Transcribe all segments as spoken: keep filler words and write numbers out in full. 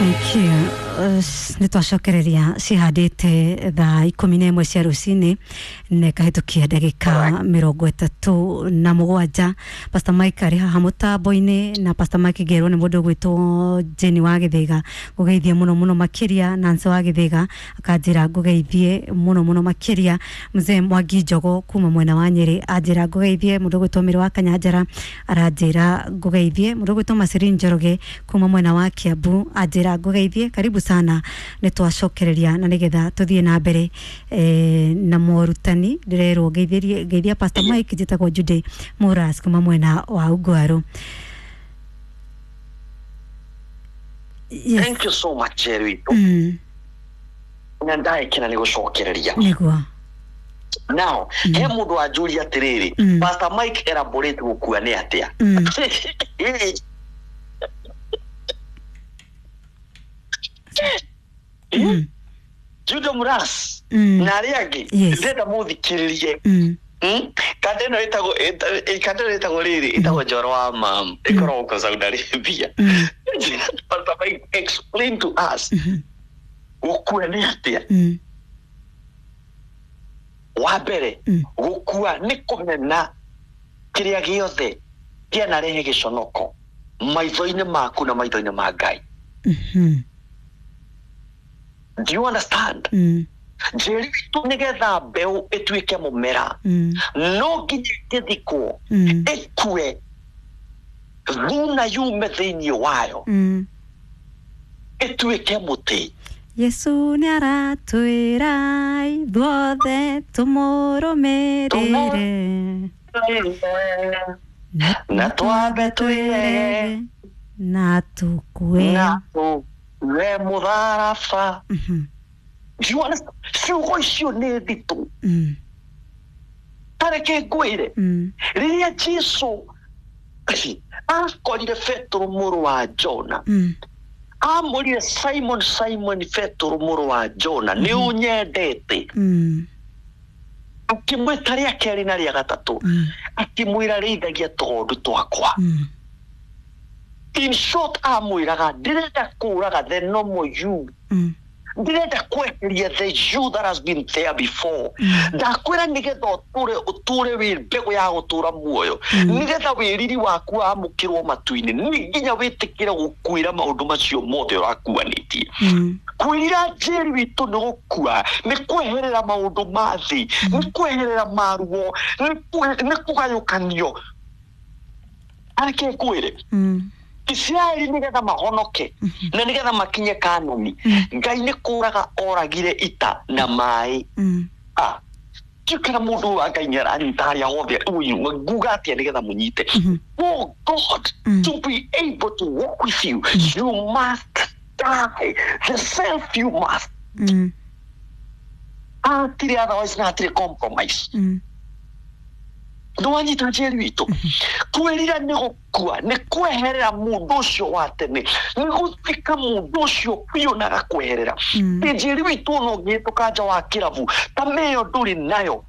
Thank you. Nä twacokereria cihandä thaa ikå na ĩmwe cia rũcinĩ na ĩkahĩtũkia ndagĩka mĩrongo ĩtatũ na mũgwanja. Pastor Mike arĩ haha mũtambo-inĩ, na Pastor Mike ngerwo nĩ mũndũ ũgwĩtwo Jenny wa Gĩthĩga ngũgeithie mũno mũno makĩria, Nancy wa Gĩthĩga akanjĩra ngũgeithie mũno mũno makĩria, Mzee Mwangi Njogo kuma mwena wa Nyĩrĩ anjĩra ngũgeithie, mũndũ ũgwĩtwo Mĩrĩ wa Kanyanjara aranjĩra ngũgeithie, mũndũ ũgwĩtwo Maciri Njoroge kuma mwena wa Kiambu anjĩra ngũgeithie. Karibu sana, nĩ twacokereria na nĩgetha tũthiĩ na mbere eh, na morutani. Ndĩrerwo ngeithĩrie ngeithia Pastor Mike, njĩtagwo Jude Muras kuma mwena wa Ungwaru. Yes. Thank you so much, Jerry. Mm, na ndaekena nä gå cokereria. Nĩguo. Now he må ndå wanjũria atĩrĩrĩ, Mm. Pastor Mike, elaborate gũkua nĩ atĩa? Mm. Mm. Judo Muras Mm. na arĩa angĩ, Yes. ndĩrenda mũthikĩrĩrie. Mm. Mm? Kanda ĩno ĩtagwo ĩta- kanda ĩno ĩtagwo rĩrĩ, ĩtagwo Njoro wa Mam, ĩkoragwo kwa Saudi Arabia. Mm. Pastor Mike, explain to us Mhm. gũkua nĩ atĩa. Mm. Wa mbere, Mm. gũkua nĩ kũmena kĩrĩa gĩothe kĩanarehe gĩconoko maitho-inĩ maku na maitho-inĩ ma Ngai. Mhm. Do you understand? Mm. Njĩri witũ, nĩgetha mbeũ ĩtuĩke mũmera, Mm. no nginya ĩngĩthikwo, Mm. ĩkue thuna yume thĩinĩ wayo, Mm. ĩtuĩke mũtĩ. Yesu nĩ aratwĩra ithuothe tũmũrũmĩrĩre na twambe twĩrege na tũkue na tũkue mũtharaba. Mhm. Do you understand? Ciugo icio nĩ nditũ. Mm. Tareke ngwĩre, Mm. rĩrĩa Jesu akorire Petero mũrũ wa Jona, Mm. amũrire, "Simon, Simon, Petero mũrũ wa Jona, nĩ ũnyendete?" Mm. Akĩmwĩta rĩa kerĩ na rĩa gatatũ, Mm. akĩmwĩra, "Rĩithagia tũgondu twakwa." Mm. In short, amwĩraga, "Ndĩrenda kũraga the normal you, Mm. ndĩrenda kweheria the you that has been there before." Ndakwĩra, nĩgetha ũtũre ũtũre wĩ mbegũ ya gũtũra muoyo, nĩgetha wĩriri waku wamũkĩrwo matu-inĩ, nĩ nginya wĩtĩkĩre gũkuĩra maũndũ macio mothe ũrakuanĩtie. Mm. Kwĩrira, njĩri witũ, nĩ gũkua, nĩ kweherera maũndũ ma thĩ, nĩ kweherera maruo, nĩ kwe- nĩ kũgayũkanio. Areke ngwĩre, Mm. Isiraeli nĩgetha mahonoke na nĩgetha makinye Kanani, Ngai nĩ kũraga oragire ita na maĩ. Mm. Ah, ndiũ kana mũndũ wa Ngai nĩ aranyita harĩa hothe. Ũyũ nguga atĩa nĩgetha mũnyite? Oh God, to be able to walk with you, you must die the self, you must. Mm. Hatirĩ otherwise na hatirĩ compromise. Mm. Ndwanyita, njeri witũ? Kwĩrira nĩ gũkua, nĩ kweherera mũndũ ũcio wa tene, nĩ gũthika mũndũ ũcio biũ na gakweherera. Mm. Njeri witũ, ona ũngĩhĩtũka nja wa kĩrabu ta meyo ndũrĩ nayo,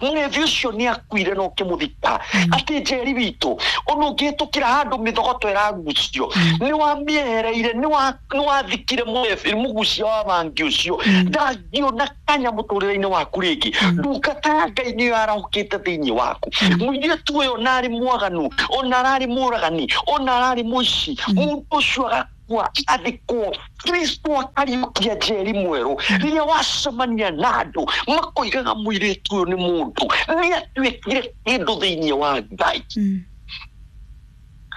mũrevi ũcio nĩ akuire na ũkĩmũthika. Atĩ njeri witũ, ona ũngĩhĩtũkĩra handũ mĩthogoto ĩragucio, nĩ wamĩehereire, nĩ wa- nĩ wathikire mũrebi mũgucia wa bangi ũcio, ndangĩona kanya mũtũrĩre-inĩ waku rĩngĩ. Ndungata ya Ngai nĩyo yarahũkĩte thĩinĩ waku. Mũirĩtu ũyũ, ona arĩ mwaganu, ona ararĩ mũragani, ona ararĩ mũici, mũndũ ũcio agakua, athikwo, Kristo akariũkia njeri mwerũ. Rĩrĩa wacemania na andũ makoigaga, "Mũirĩtu ũyũ nĩ mũndũ, nĩ atuĩkire kĩndũ thĩinĩ wa Ngai." Mm.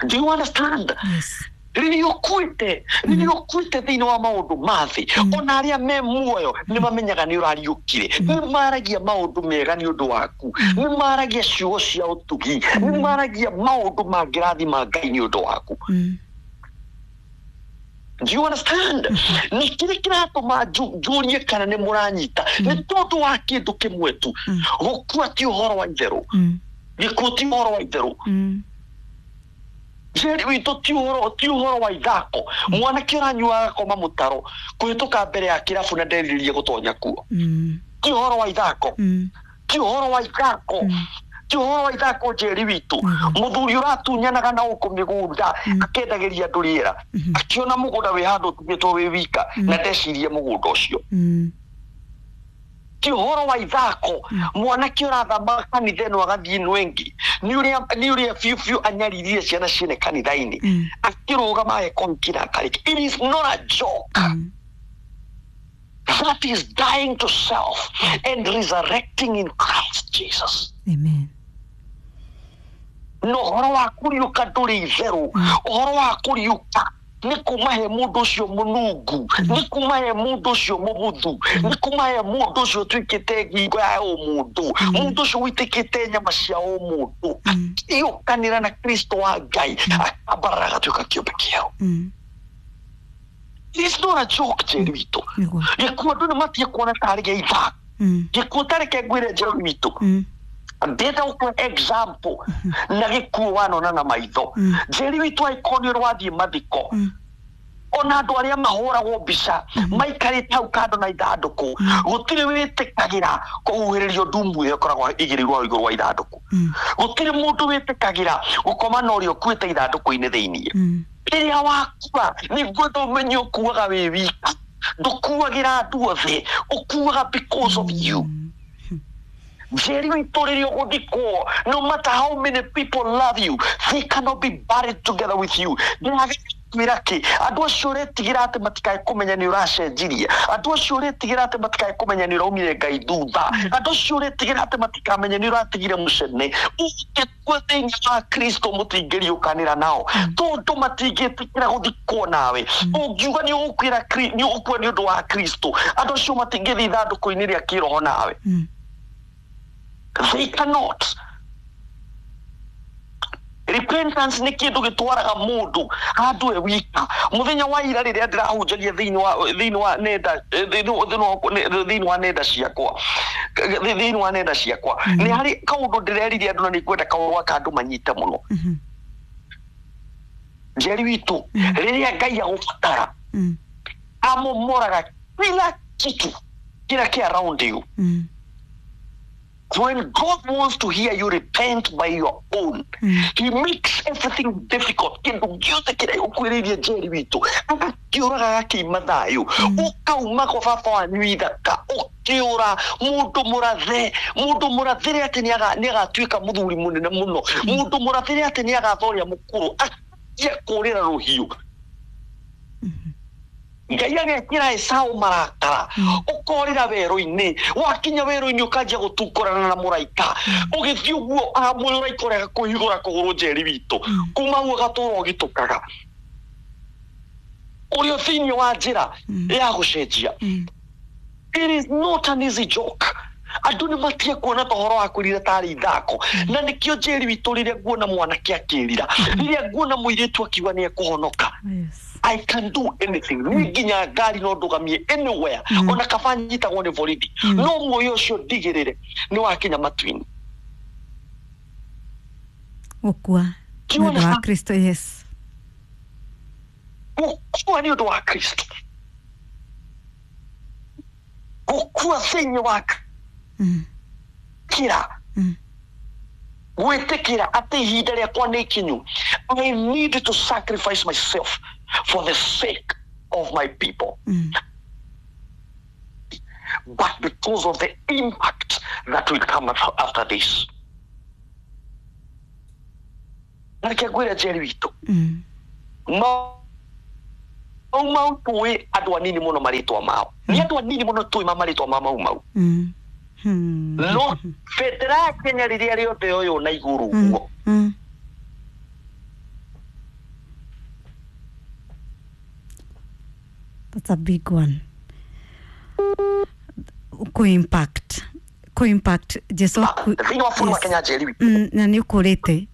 Do you understand? Yes. Rĩrĩa ũkuĩte, rĩrĩa ũkuĩte thĩinĩ wa maũndũ ma thĩ, ona arĩa me muoyo nĩ mamenyaga nĩ ũrariũkire. Nĩ maragia maũndũ mega nĩ ũndũ waku, nĩ maragia ciugo cia ũtugi, nĩ maragia maũndũ mangĩrathima Ngai nĩ ũndũ waku. Mm. Do you understand? Na kĩrĩa kĩratũma nju- njũrie kana nĩ mũranyita nĩ tondũ wa kĩndũ kĩmwe tu: gũkua ti ũhoro wa itherũ. Mm. Gĩkuũ ti ũhoro wa itherũ. Mm. Njeri witũ, ti ũhoro ti ũhoro wa ithako. Mwanake ũranyua agakoma mũtaro kũhĩtũka mbere ya kĩrabu na nderirĩrie gũtonya kuo, Mm. ti ũhoro wa ithako. Mm. Ti ũhoro wa ithako. Ti ũhoro wa ithako, Njeri witũ. Mũthuri ũratunyanaga na gũkũ mĩgũnda, akendagĩria andũ rĩera, akĩona mũgũnda wĩ handũ ũtigĩtwo wĩ wika na ndecirie mũgũnda ũcio. Mm. Ti ũhoro wa ithako, mwanake ũrathama kanitha ĩno agathiĩ ĩno ĩngĩ nĩ ũrĩa nĩ ũrĩa biũ biũ anyaririre ciana ciene kanitha-inĩ, Mm. akĩrũgama agekonki na akarĩkia. It is not a joke. Mm. That is dying to self and resurrecting in Christ Jesus. Amen. Na ũhoro wa kũriũka ndũrĩ itherũ. Ũhoro wa kũriũka nĩ kuma he mũndũ ũcio mũnungu, nĩ kuma he mũndũ ũcio mũbuthu, nĩ kuma he mũndũ ũcio ũtuĩkĩte ngingo ya ũmũndũ, mũndũ ũcio ũitĩkĩte nyama cia ũmũndũ, akĩũkanĩra na Kristo wa Ngai, akambarara, agatuĩka kĩũmbe kĩerũ. Mm. It is not a joke, Njeri witũ. Nĩguo. Gĩkuũ andũ nĩ matige kuona tarĩ gĩa ithako. Mm. Gĩkuũ tareke ngwĩre, Njeri witũ, Mm. ndĩrenda gũkũhe example na gĩkuũ wanona na maitho. Njeri witũ, angĩkorwo nĩ ũrathiĩ mathiko, ona andũ arĩa mahũragwo mbica maikarĩte hau kando na ithandũkũ, gũtirĩ wĩtĩkagĩra kũhuhĩrĩrio ndumu ĩyo ĩkoragwo ĩigĩrĩirwo hau igũrũ wa ithandũkũ. Mm. Gũtirĩ mũndũ wĩtĩkagĩra gũkoma na ũrĩa ũkuĩte ithandũkũ-inĩ thĩiniĩ. Mm. Rĩrĩa wakua, nĩ ngwenda ũmenye ũkuaga wĩ wika. Ndũkuagĩra andũ othe, ũkuaga because of you. Njeri witũ, rĩrĩa ũgũthikwo, no matter how many people love you, they cannot be buried together with you. Ndĩrakwĩra kĩ, andũ acio ũretigĩra atĩ matikae kũmenya nĩ ũracenjirie, andũ acio ũretigĩra atĩ matikae kũmenya nĩ ũraumire Ngai thutha, andũ acio ũretigĩra atĩ matikamenya nĩ ũratigire mũcene, ũngĩkua thĩinĩ wa Kristo mũtingĩriũkanĩra nao, tondũ matingĩtĩkĩra gũthikwo nawe. Ũngiuga nĩ ũgũkuĩra Kri- nĩ ũgũkua nĩ ũndũ wa Kristo, andũ acio matingĩthiĩ ithandũkũ-inĩ rĩa kĩroho nawe. Mm. They cannot. Repentance nĩ kĩndũ gĩtwaraga mũndũ handũ e wika. Mũthenya wa ira rĩrĩa ndĩrahunjagia thĩinĩ wa thĩinĩ wa nenda eh, thĩinĩ wa- thĩinĩ wa nenda ciakwa thĩinĩ wa nenda ciakwa nĩ harĩ kaũndũ ndĩreririe andũ, na nĩ ngwenda kaũndũ gaka andũ manyite mũno. Mhm. Njeri witũ, rĩrĩa Ngai agũbatara, Mm. amomoraga kila kitu kila kĩ around you. Mm. When God wants to hear you repent by your own, Mm. he makes everything difficult. Kĩndũ gĩothe kĩrĩa gũkwĩrĩirie, Njeri witũ, agakĩũraga, gakĩima thayũ, ũkauma kwa baba wanyu ithaka, ũkĩũra mũndũ mũrathe, mũndũ mũrathĩre atĩ nĩaga- nĩagatuĩka mũthuri mũnene mũno, mũndũ mũrathĩre atĩ nĩagatha ũrĩa mũkũrũ, akia kũrĩra rũhiũ. Ngai agekĩra Esau marakara, ũkorĩra werũ-inĩ. Wakinya werũ-inĩ, ũkanjia gũtungũrana na mũraika, ũgĩthiĩ ũguo, ah, mũraika ũrĩa agakũhithũra kũgũrũ. Njeri witũ, kuma hau ũgatũra ũgĩtũkaga ũrĩ o thĩinĩ wa njĩra ya gũcenjia. Mm. It is not an easy joke. Andũ nĩ matige kuona ta ũhoro wa kwĩrira tarĩ ithako. Na nĩkĩo, Njeri witũ, rĩrĩa nguona mwanake akĩrira, rĩrĩa nguona mũirĩtu akiuga nĩ ekũhonoka, Yes. I can do anything. Niĩ nginya ngari no ndũgamie anywhere. Ona kaba nyitagwo nĩ borithi. No muoyo ũcio ndigĩrĩre nĩ wakinya matu-inĩ. Gũkua nĩ ũndũ wa Kristo, yes. Gũkua nĩ ũndũ wa Kristo. Gũkua thĩinĩ wa Mm. kĩra Mm. gwĩtĩkĩra atĩ ihinda rĩakwa nĩ ikinyu. I need to sacrifice myself for the sake of my people, Mm. but because of the impact that will come af- after this. Na reke ngwĩre, Njeri witũ, Mm. Mau Mau tũĩ andũ anini mũno marĩtwa mao, nĩ andũ anini mũno tũĩ ma marĩtwa ma Mau Mau. Mm. Hmm. No bendera ya Kenya rĩrĩa rĩothe yoywo na igũrũ Mm. ũguo, Mm. That's a big one. Ku impact. Ku impact. Jesu aku. Thĩinĩ wa bũrũri wa Yes. Kenya, Njeri witũ. Mm, na nĩ ũkũrĩte.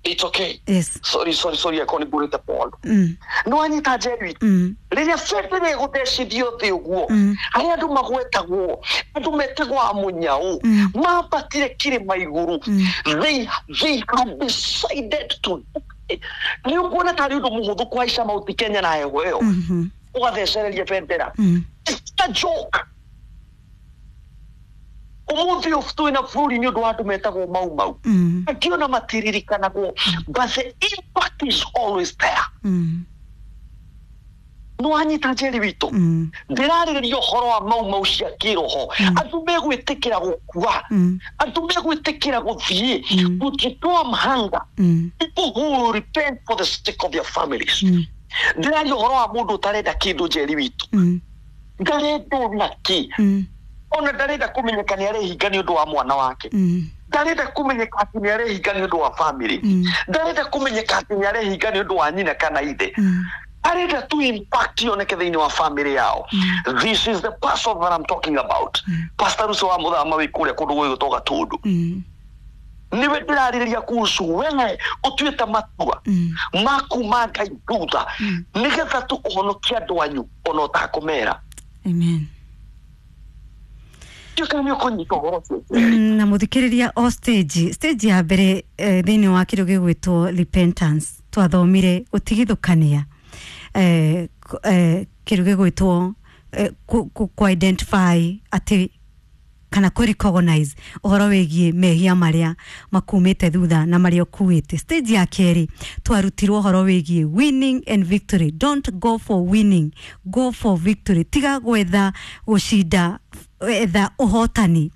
It's okay. Yes. Sorry, sorry, sorry, akorwo nĩ ngũrĩte Paul. Mm. Nĩ wanyita, Njeri witũ? Mm. Rĩrĩa bendera ĩgũthecithio thĩ ũguo, Mm. harĩa andũ magwetagwo, andũ metagwo a mũnyau, Mm. mambatire kĩrĩma igũrũ, Mm. they they had decided to die. Nĩ ũkuona tarĩ ũndũ mũhũthũ kũhaica Mount Kenya na heho ĩyo, Mhm. ũgathecereria bendera? Mm. It's a joke. Umuthi ũyũ twĩna bũrũri nĩ ũndũ wa andũ metagwo mau mau. Mm. Angĩ ona matiririkanagwo, but the impact is always there. Mm. Nĩ wanyita Njeri witũ? Mm. Ndĩrarĩrĩria ũhoro wa mau mau cia kĩroho, andũ megwĩtĩkĩra gũkua, Mm. andũ megwĩtĩkĩra gũthiĩ Mm. gũjitoa mhanga, Mm. people who will repent for the sake of their families. Mm. Ndĩraria ũhoro wa mũndũ ũtarenda kĩndũ, Njeri witũ. Mm. Ndarenda ona kĩ, Mm. ona ndarenda kũmenyeka nĩ arehinga nĩ ũndũ wa mwana wake, Mm. ndarenda kũmenyeka atĩ nĩ arehinga nĩ ũndũ wa family, Mm. ndarenda kũmenyeka atĩ nĩ arehinga nĩ ũndũ wa nyina kana ithe. Mm. Arenda tu impact yoneke thĩinĩ wa family yao. This is the person that I'm talking about. Pastor Russo wa mũthama wĩ kũrĩa kũndũ gwĩgũtwo Gatũndũ, Mm. nĩwe ndĩrarĩrĩria kuhusu wewe ũtuĩte matua Mm. ma kuma Ngai thutha nĩgetha tu ũhonokie andũ anyu ona ũtakũmera. Amen. Ndiũĩ kana nĩ ũkũnyita ũhoro ũcio. Mm, na muthikiriria, o stage stage ya mbere eh, thĩinĩ wa kĩndũ gĩgwĩtwo repentance, twathomire gũtigithũkania eh, k- eh, kĩndũ gĩgwĩtwo eh, ku, ku, ku identify atĩ kana kũ recognize ũhoro wĩgiĩ mehia marĩa makumĩte thutha na marĩa ũkuĩte. Stage ya kerĩ twarutirwo ũhoro wĩgiĩ winning and victory. Don't go for winning, go for victory. Tiga gwetha gũcinda, etha ũhotani.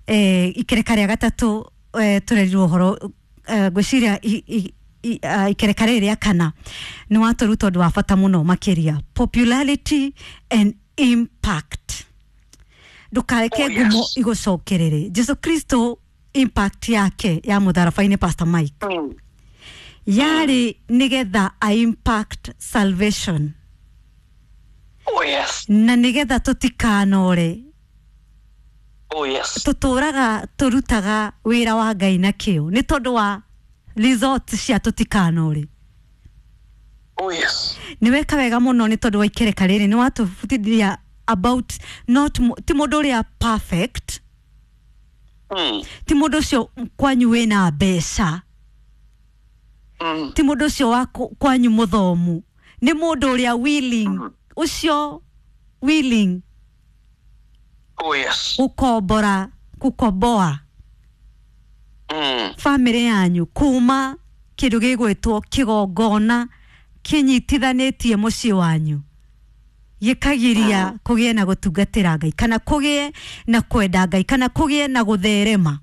eh, ikereka rĩa gatatũ eh, tũrerirwo ũhoro, eh, ngwĩciria i- i- i- ah, ikereka rĩrĩ rĩa kana nĩ watũruta ũndũ wa bata mũno makĩria, popularity and impact. Ndũkareke Oh, yes. ngumo igũcokerere. Jesu Kristo, impact yake ya mũtharaba-inĩ, Pastor Mike, Mm. yarĩ nĩgetha a impact salvation Oh yes. na nĩgetha tũtikanore. Oh yes. Tũtũraga tũrutaga wĩra wa Ngai na kĩo nĩ tondũ wa result cia tũtikanore. Oh yes. Nĩ weka wega mũno nĩ tondũ wa ikereka rĩrĩ, nĩ watũbutithia about not mu- ti mũndũ ũrĩa perfect, Mm. ti mũndũ ũcio kwanyu wĩna mbeca, Mm. ti mũndũ ũcio wa kũ- kwanyu mũthomu, nĩ mũndũ ũrĩa willing, ũcio willing Oh yes. gũkombora, gũkomboa Mm. bamĩrĩ yanyu kuma kĩndũ gĩgwĩtwo kĩgongona kĩnyitithanĩtie mũciĩ wanyu, gĩkagiria kũgĩe na gũtungatĩra Ngai, kana kũgĩe na kwenda Ngai, kana kũgĩe na gũtherema,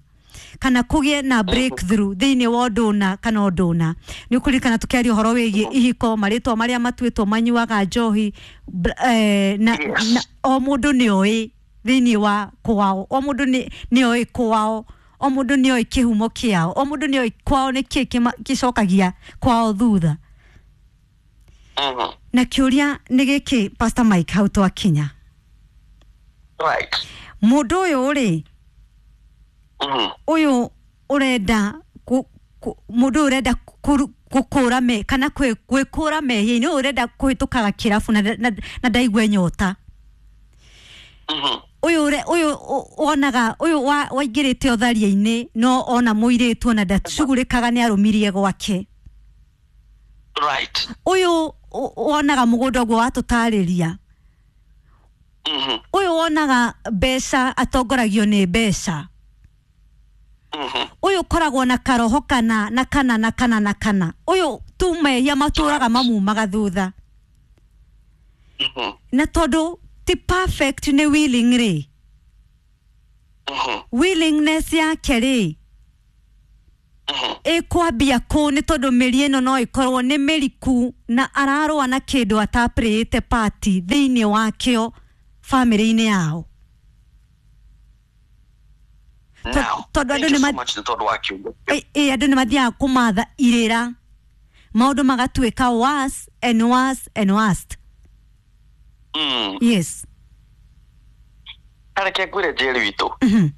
kana kũgĩe na breakthrough thĩinĩ wa ũndũ ũna kana ũndũ ũna. Nĩ ũkũririkana tũkĩaria ũhoro wĩgiĩ ihiko, marĩtwa marĩa matuĩtwo manyuaga njohi, br- eh, na, Yes. na o mũndũ nĩ oĩ thĩinĩ wa kwao, o mũndũ nĩ nĩ oĩ kwao, o mũndũ nĩ oĩ kĩhumo kĩao, o mũndũ nĩ oĩ kwao nĩ kĩ kĩma- gĩcokagia kwao thutha. Mhm. Na kĩũria nĩ gĩkĩ, Pastor Mike, hau twakinya, Right. mũndũ ũyũ rĩ, Mhm. ũyũ ũrenda kũ- kũ- mũndũ ũyũ ũrenda kũru- gũkũra me kana kwĩ- gwĩkũra mehia-inĩ, ũyũ ũrenda kũhĩtũkaga kĩrabu na, na, na ndaigue nyota, Mhm. ũyũ ũre- ũyũ ũ- wonaga ũyũ wa- waingĩrĩte ũtharia-inĩ no ona mũirĩtu ona ndacugurĩkaga nĩ arũmirie gwake, Right. ũyũ ũ- wonaga mũgũnda ũguo watũtarĩria, Mhm. ũyũ wonaga mbeca, atongoragio nĩ mbeca, Mhm. ũyũ ũkoragwo na karoho kana na kana na kana na kana, ũyũ tu mehia matũraga mamumaga thutha. Mhm. Na tondũ ti perfect, nĩ willing rĩ, Mhm. willingness yake rĩ Mhm. ĩkwambia kũ? Nĩ tondũ mĩri ĩno no ĩkorwo nĩ mĩriku na ararũa na kĩndũ atapĩrĩte pati thĩinĩ wakĩo bamĩrĩ-inĩ yao. Now, tondũ thank andũ you nĩ so ma- much nĩ tondũ wa kiugo. Ĩ- ĩ andũ nĩ mathiaga kũmatha irĩra, maũndũ magatuĩka worse and worse and worse. Mm. Yes. Reke ngwĩre, Njeri witũ, Mhm.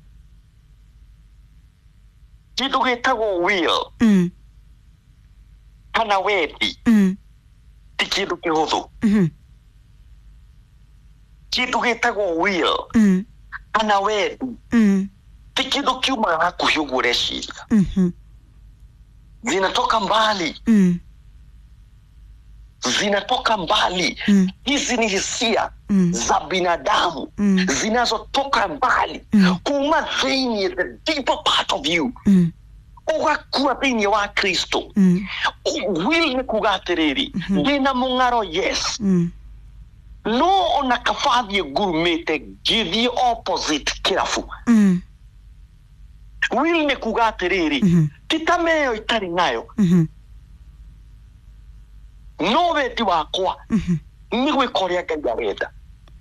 kĩndũ gĩtagwo will Mm. kana wendi Mm. ti kĩndũ kĩhũthũ. Mhm. Kĩndũ gĩtagwo will Mm. kana wendi Mm. ti kĩndũ kiumaga hakuhĩ ũguo ũreciria, Mhm. zinatoka mbali. Mm. Zinatoka mbali. Mm. Hizi ni hisia Mm. za binadamu Mm. zinazotoka mbali Mm. kuma thĩinĩ, the deeper part of you, Mm. ũgakua thĩinĩ wa Kristo. Mm. Will nĩ kuga atĩrĩrĩ, ndĩna mũng'aro, yes, Mm. no ona kaba thiĩ ngurumĩte ngĩthiĩ opposite kĩrabu. Mm. Will nĩ kuga atĩrĩrĩ, Mhm. ti ta mĩyo itarĩ nayo, Mhm. no wendi wakwa Mhm. nĩ gwĩka ũrĩa Ngai arenda.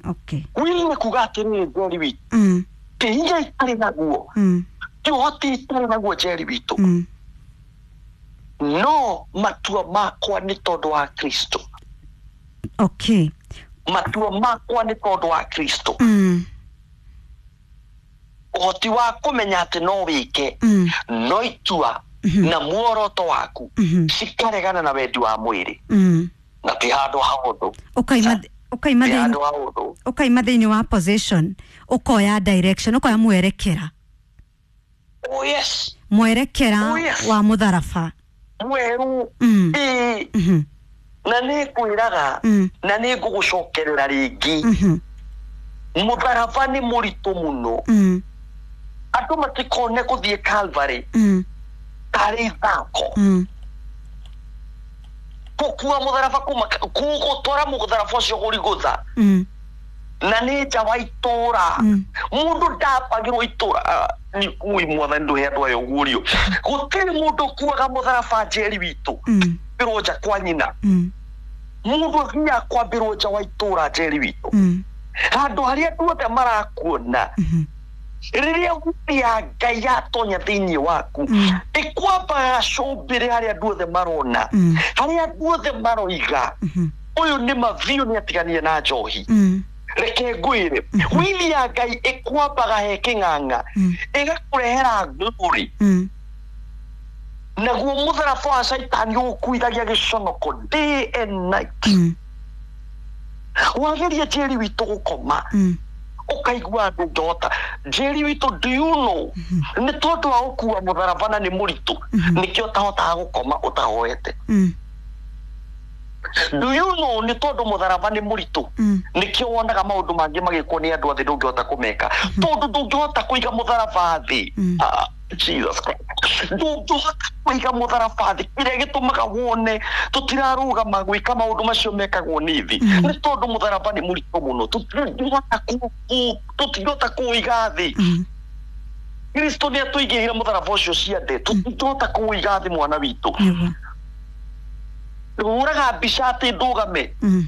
Okay. Will nĩ kuga atĩrĩrĩ, Njeri witũ, Mm. ti hinya itarĩ naguo, Mm. ti ũhoti itarĩ naguo, Njeri witũ, Mm. no matua makwa nĩ tondũ wa Kristo. Okay. Matua makwa nĩ tondũ wa Kristo. Mm. Ũhoti wa kũmenya atĩ no wĩke, Mm. no itua Mhm. na muoroto waku Mhm. cikaregana na wendi wa mwĩrĩ, Mm. na ti handũ hahũthũ. Ukaima ukaima Ti thĩinĩ handũ hahũthũ. ukaima thĩinĩ wa position, ukoya direction, ukoya mwerekera. Oh yes. Mwerekera Oh, yes. wa mũtharaba. Mweru. Mm. Ĩĩ. Mhm. Na nĩ ngwĩraga, Mm. na nĩ ngũgũcokerera rĩngĩ, Mhm. mũtharaba nĩ mũritũ mũno. Mm. Andũ matikone gũthiĩ Calvary Mm. tarĩ ithako. Mm. Gũkua mũtharaba kuma gũtwara mũtharaba ũcio gũrigũtha, Mm. na nĩ nja wa itũra. Mm. Mũndũ ndambagĩrwo itũra. Ah, nĩ ui mwathani, ndũhe andũ aya ũguũrio. Gũtirĩ mũndũ ũkuaga mũtharaba, Njeri witũ, Mm. kwambĩrwo nja kwa nyina. Mm. Mũndũ athiaga kwambĩrwo nja wa itũra, Njeri witũ, Mm. handũ harĩa andũ othe marakuona. Mhm. Rĩrĩa nguthi ya Ngai yatonya thĩinĩ waku, Mm. ĩkwambaga gacũmbĩrĩ harĩa andũ othe marona, Mm. harĩa andũ othe maroiga, Mhm. ũyũ nĩ mabiũ nĩ atiganire na njohi. Mm. Reke ngwĩre, wili ya Ngai ĩkwambaga he kĩng'ang'a, Mm. ĩgakũrehera glory, Mm. naguo mũtharaba wa caitani ũgũkuithagia gĩconoko day and night. Mm. Wageria, Njeri witũ, gũkoma, Mm. ũkaigua ndũngĩhota. Njeri witũ, do you know, nĩ tondũ wa gũkua mũtharaba na nĩ mũritũ, nĩkĩo ũtahotaga gũkoma ũtahoete? Mm. Do you know, nĩ tondũ mũtharaba nĩ mũritũ, Mm. nĩkĩo wonaga maũndũ mangĩ magĩkwo nĩ andũ athĩ ndũngĩhota kũmeka, tondũ ndũngĩhota kũiga mũtharaba thĩ? Mm. Ah, Jesus Christ. Ndũngĩhota kũiga mũtharaba thĩ. Kĩrĩa gĩtũmaga wone tũtirarũgama gwĩka maũndũ macio mekagwo nĩ thĩ nĩ tondũ mũtharaba nĩ mũritũ mũno. Tũtingĩhota kũ- kũ- tũtingĩhota kũũiga thĩ. Mm. Kristo nĩ atũigĩrĩire mũtharaba ũcio ciande, tũtingĩhota kũũiga thĩ, mwana witũ. Nĩguo. Hũraga mbica atĩ ndũgame, Mm.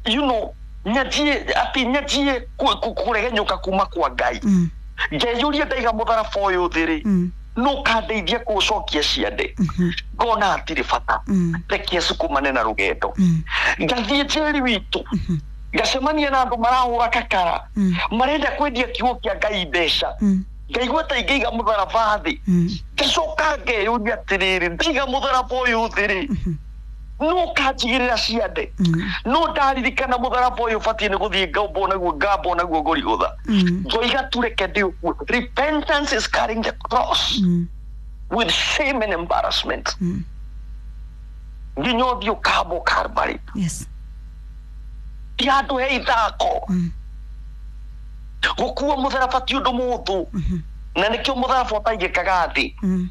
you know nyanjie atĩ nyanjie kũ- kũ- kũregenyũka kuma kwa Ngai, Mm. ngeyũria, ndaiga mũtharaba ũyũ thĩ rĩ, Mm. no kandeithia kũũcokia ciande? Mhm. Ngona hatirĩ bata. Mm. Reke cukumane na rũgendo. Mm. Ngathiĩ, Njeri witũ, ngacemania na andũ marahũra kakara, Mm. marenda kwendia kiugo kĩa Ngai mbeca. Mm. Ngaigua ta ingĩiga mũtharaba thĩ. Mm. Ngacoka ngeyũria atĩrĩrĩ, ndaiga mũtharaba ũyũ thĩ rĩ, no kanjigĩrĩra ciande? Mm. No ndaririkana mũtharaba ũyũ ũbatiĩ nĩ gũthiĩ ngambwo naguo, ngambwo naguo ngũrigũtha, Mm. ngoiga tu reke ndĩũkue. Repentance is carrying the cross Mm. with shame and embarrassment Mm. nginya ũthiĩ ũkambwo Calvary. Yes. Ti handũ he ithako. Mm. Gũkua mũtharaba ti ũndũ mũhũthũ, Mhm. na nĩkĩo mũtharaba ũtaigĩkaga thĩ. Mm.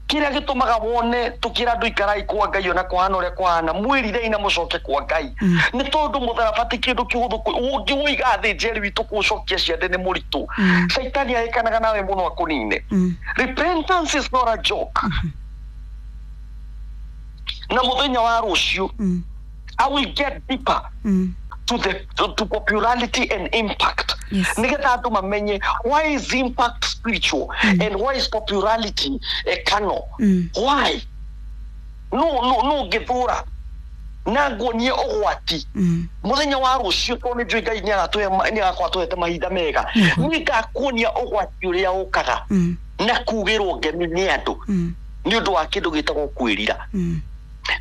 Kĩrĩa gĩtũmaga wone tũkĩra andũ ikarai kwa Ngai ona kũhana ũrĩa kũhana, mwĩrirei na mũcoke kwa Ngai, Mm. nĩ tondũ mũtharaba ti kĩndũ kĩhũthũ. Ũngĩũiga thĩ, Njeri witũ, kũũcokia ciande nĩ mũritũ. Mm. Caitani ahĩkanaga nawe mũno akũnine. Mm. Repentance is not a joke. Na mũthenya wa rũciũ, Mm. I will get deeper Mm. to the to, to popularity and impact, Yes. nigetha andũ mamenye why is impact spiritual and why is popularity a carnal. Mm. Why no no no ngĩthũra na nguonie ũgwati Mm. mũthenya wa rũciũ, tondũ nĩ njũĩ Ngai nĩ agatũhe, nĩ agakorwo atũhete mahinda mega. Mhm. Nĩ ngakuonia ũgwati ũrĩa ũkaga Mm. na kugĩrwo ngemi nĩ andũ Mm. nĩ ũndũ wa kĩndũ gĩtagwo kwĩrira. Mm.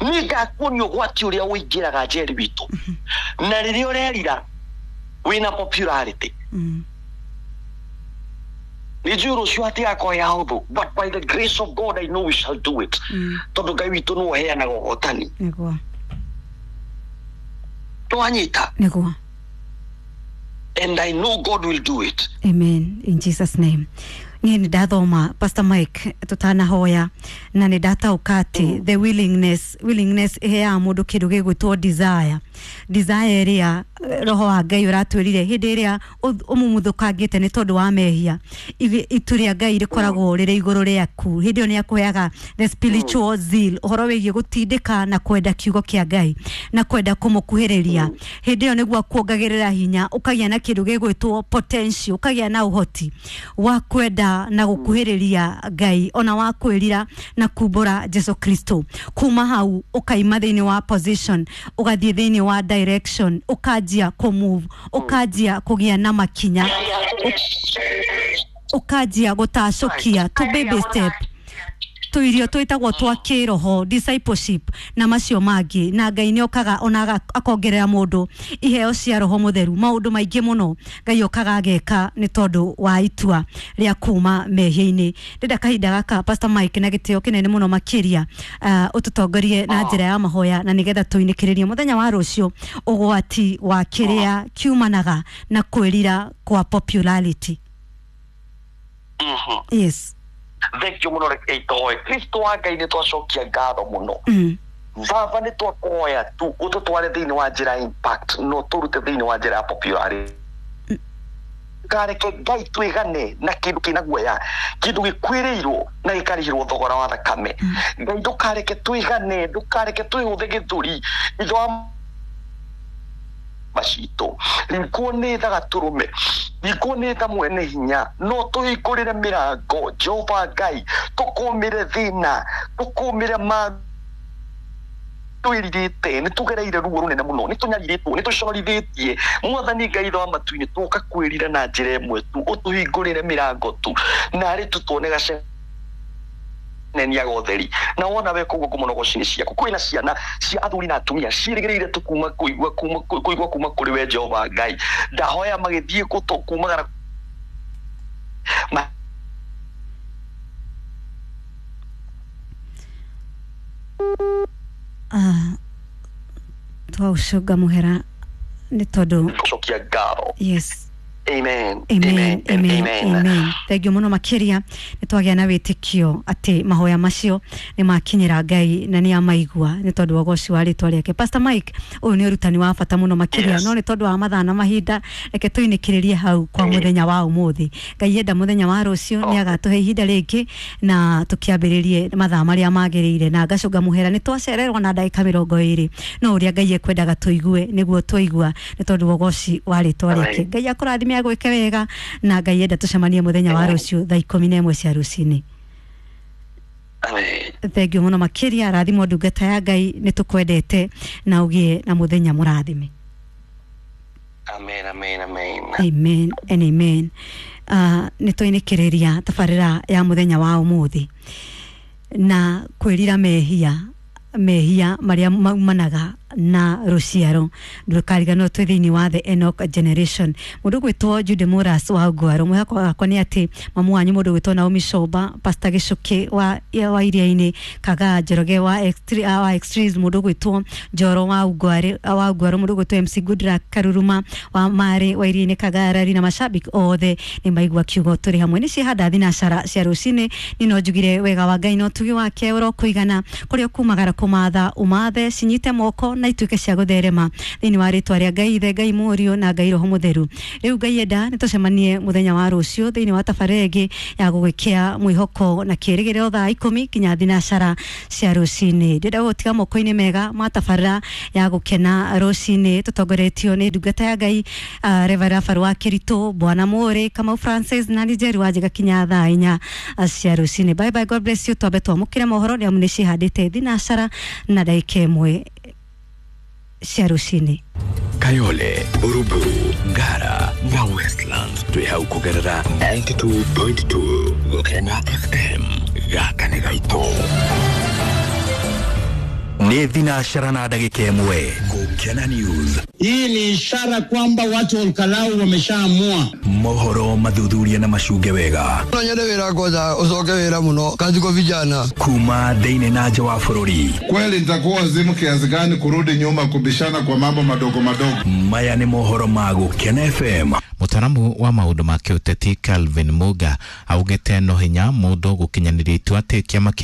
Nĩ ngakuonia ũgwati ũrĩa ũingĩraga, Njeri witũ, na rĩrĩa ũrerira wĩna popularity. Mm. Nĩ njũĩ rũciũ hatigakorwo ya hũthũ, but by the grace of God I know we shall do it, Mm. tondũ Ngai witũ nĩwe ũheanaga ũhotani. Nĩguo. Nĩwanyita? Nĩguo. And I know God will do it. Amen, in Jesus name. Niĩ nĩ ndathoma, Pastor Mike, tũtanahoya, na nĩ ndatauka atĩ the willingness willingness ĩheaga mũndũ kĩndũ gĩgwĩtwo desire. Desire ĩrĩa roho wa Ngai ũratwĩrire hĩndĩ ĩrĩa ũmumuthũkangĩte nĩ tondũ wa mehia, itu rĩa Ngai rĩkoragwo rĩrĩ igũrũ rĩaku. Hĩndĩ ĩyo nĩ akũheaga the spiritual zeal, ũhoro wĩgiĩ gũtindĩka na kwenda kiugo kĩa Ngai na kwenda kũmũkuhĩrĩria. Hĩndĩ ĩyo nĩguo akuongagĩrĩra hinya, ũkagĩa na kĩndũ gĩgwĩtwo potential, ũkagĩa na ũhoti wa kwenda na gũkuhĩrĩria Ngai, ona wa kwĩrira na kumbũra Jesu Kristo. Kuma hau ũkaima thĩinĩ wa position, ũgathiĩ thĩinĩ wa direction, ũkanjia kũ move, ũkanjia kũgĩa na makinya, ũkanjia gũtacũkia to baby step tuirio twĩtagwo twa kĩroho, discipleship na macio mangĩ. Na Ngai nĩ okaga ona akongerera mũndũ iheo cia roho mũtheru, maũndũ maingĩ mũno Ngai okaga ageka nĩ tondũ wa itua rĩa kuma mehia-inĩ. Ndĩrenda kahinda gaka, Pastor Mike, na gĩtĩo kĩnene mũno makĩria, uh, ũtũtongorie na njĩra ya mahoya, na nĩgetha tũinĩkĩrĩrie mũthenya wa rũciũ ũgwati wa kĩrĩa kiumanaga na kwĩrira kwa popularity. Mm-hmm. Yes. Thank you muno reke itoe Kristo wa Ngai nĩ twacokia ngatho mũno. Baba, nĩ twakuhoya tu ũtũtware thĩinĩ wa njĩra ya impact, no tũrute thĩinĩ wa njĩra ya popularity. Kareke Ngai twĩgane na kĩndũ kĩna guoya, kĩndũ gĩkuĩrĩirwo na gĩkarĩhĩrwo thogora wa thakame. Ngai, ndũkareke twĩgane, ndũkareke twĩhũthe gĩthũri ithe wa macitũ. Ringwo nĩ tha gatũrũme, ringwo nĩ tha mwene hinya, no tũhingũrĩre mĩrango Jehova Ngai, tũkũmĩre thĩna, tũkũmĩre ma twĩrirĩte. Nĩ tũgereire ruo rũnene mũno, nĩ tũnyarirĩtwo, nĩ tũconorithĩtie. Mwathani Ngai ithe wa matu-inĩ, tũka kwĩrira na njĩra ĩmwe tu, ũtũhingũrĩre mĩrango tu narĩ tu tuone gacenenia gotheri. Na wona we koguo kũmonogoci ciaku, kwĩna ciana cia athuri na atumia ciĩrĩgĩrĩire tu kuma kũigua kuma kũigua kuma kũrĩ we Jehova Ngai. Ndahoya magĩthiĩ kũtũ kumagara ma Uh, twaũcũnga mũhera nĩ tondũ gũcokia ngatho. Yes. Amen. Amen, amen, amen. Thank you mũno makĩria. Nĩ twagĩa na wĩtĩkio atĩ mahoya macio nĩ makinyĩra Ngai na nĩ amaigua nĩ tondũ wa ũgoci wa rĩtwa rĩake. Pastor Mike, ũyũ nĩ ũrutani wa bata mũno makĩria. Yes. No nĩ tondũ wa mathaa na mahinda, reke tũinĩkĩrĩrie hau kwa mũthenya wa ũmũthĩ. Ngai enda, mũthenya wa rũciũ nĩ agatũhe ihinda rĩngĩ na tũkĩambĩrĩrie mathaa marĩa magĩrĩire. Na ngacũnga mũhera nĩ twacererwo na ndagĩka mĩrongo ĩrĩ, no ũrĩa Ngai ekwendaga tũigue nĩguo twaigua nĩ tondũ wa ũgoci wa rĩtwa rĩake. Ngai akũrathime, agwĩke wega, na Ngai enda tũcemanie mũthenya wa rũciũ thaa ikũmi na ĩmwe cia rũcinĩ. Amen. Thank you mũno makĩria. Rathimwo, ndungata ya Ngai, nĩ tũkwendete na ũgĩe na mũthenya mũrathime. Amen, amen, amen. Amen and amen. uh, nĩ twainĩkĩrĩria tabarĩra ya mũthenya wa ũmũthĩ na kwĩrira mehia, mehia marĩa maumanaga na rũciaro. Ndũkariganĩrwo twĩ thĩinĩ wa the Enoch generation. Mũndũ gwĩtwo Jude Moras wa Ngwaro, mwĩhoko wakwa nĩ atĩ mamu wanyu mũndũ gwĩtwo Naomi Shoba, Pastor Gĩcũkĩ wa, wa Iria-inĩ, Kagaa Njoroge wa Extre- wa Extremes, mũndũ gwĩtwo Njoro wa Ngware wa Ngwaro, mũndũ gwĩtwo M C Goodluck Karuruma wa Marĩ wa Iria-inĩ, Kagarari, na mashabiki othe nĩ maigua kiugo tũrĩ hamwe. Nĩ ciehanda thinacara cia rũcinĩ. Nĩ no njugire wega wa Ngai na ũtugi wake ũrokũigana kũrĩa ũkumagara kũmatha ũmathe, cinyite moko na ituĩke cia gũtherema thĩinĩ wa rĩtwa rĩa Ngai Ithe, Ngai Mũriũ na Ngai Roho Mũtheru. Rĩu Ngai enda nĩ tũcemanie mũthenya wa rũciũ thĩinĩ wa tabarĩra ĩngĩ ya gũgwĩkĩa mwĩhoko na kĩrĩgĩrĩro, thaa ikũmi nginya thinacara cia rũcinĩ. Ndĩrenda gũtiga moko-inĩ mega ma tabarĩra ya gũkena rũcinĩ tũtongoretio nĩ ndungata ya Ngai, uh, Reverend Faru wa Kĩritũ, Bwana Mũrĩ Kamau Francis na Nigeri wa Njega kinya thaa inya uh, cia rũcinĩ. Bye bye, God bless you. Twambe twamũkĩre mohoro nĩ amu nĩ cihandĩte thinacara na ndagĩka ĩmwe cia rũcinĩ. Kayole, Buruburu, Ngara na Westlands twĩ hau kũgerera mĩrongo kenda na igĩrĩ turuma igĩrĩ Gũkena F M. Gaka nĩ gaitũ. Nĩ thinacara na ndagĩka ĩmwe. Gũkena News. Hii ni ishara kwamba watu wa Olkalau wameshaamua. Mohoro mathuthuria na macunge wega. No nyende wĩra kwanza ucoke wĩra mũno kazi kwa vijana. Kuma thĩinĩ na nja wa bũrũri. Kweli nitakuwa wazimu kiasi gani kurudi nyuma kubishana kwa mambo madogo madogo? Maya nĩ mohoro ma Gũkena F M. Mũtaramu wa maũndũ ma kĩũteti Calvin Muga augĩte no hinya mũndũ gũkinyanĩria itua atĩ kĩama